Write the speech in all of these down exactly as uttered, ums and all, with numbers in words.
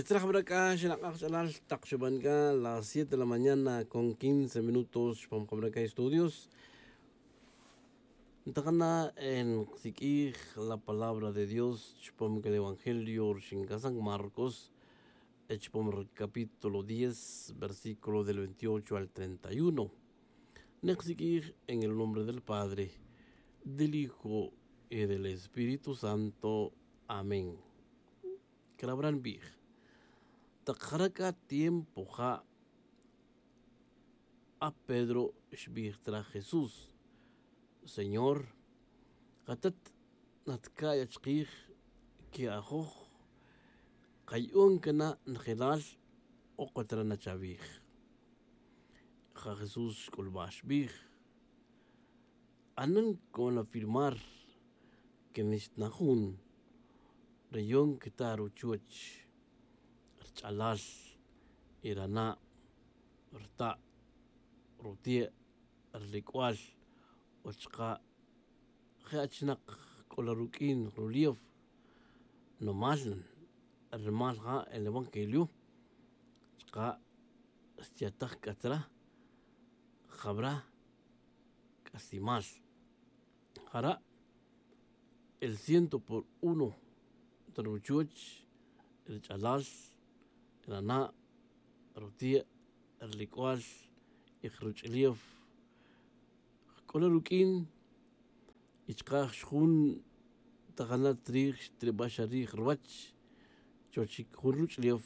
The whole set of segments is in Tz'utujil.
Tzraj jabra c'a xinak'aj ch'alal tak xuban c'a las siete de la mañana con quince minutos chupam jabra c'a estudios. Ntakana nqsiq'uij la palabra de Dios chupam c'a evangelio rixin c'a san Marcos, chupam capítulo diez versículo del veintiocho al treinta y uno. Nqsiq'uij en el nombre del Padre, del Hijo y del Espíritu Santo. Amén. Crabra nbij, tak jara' c'a tiempo ja' a Pedro xbij tzra Jesús: Señor, katat natca'y achkij que ajoj kaya'on cana' njelal, okot ra na chawij. Ja Jesús xc'ulbaj xbij: Anen co'on afirmar que nixta na jun, re yon cata ruchuoch, rch'alal, y rana', rta', rutie', rilic'ual, o chuka' je' achinak c'o la ruq'uin rulief. Nomal nan, rumal ja el evangelio chuka' xtiataj c'a tzra jabra c'aslimal. Jara' el ciento por uno ta ruchuoch, rich'alal, rana', rutie', rilic'ual, y ruch'ulief. Jc'ola ruq'uin y chuka' jun tajana' tzrij xtribax rij ruwach chuwach jun ruch'ulief.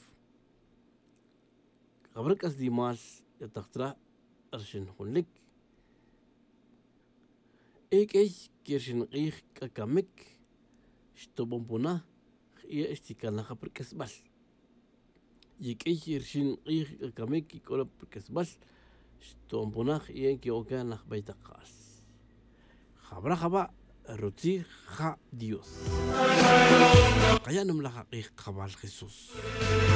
Jabra c'aslimal yataj tzra rixin junlic. E q'uey que rixin k'ij c'a camic xtoban pona, je' xticanaj pa rq'uesbal. Y q'uey rixin k'ij c'a camic c'o la pa rq'uesbal xtoban pona, je' que ocan laj beytakal. Jabra jaba' rutzij ja Dios. Kaya' nimalaj ak'ij kajawal Jesús.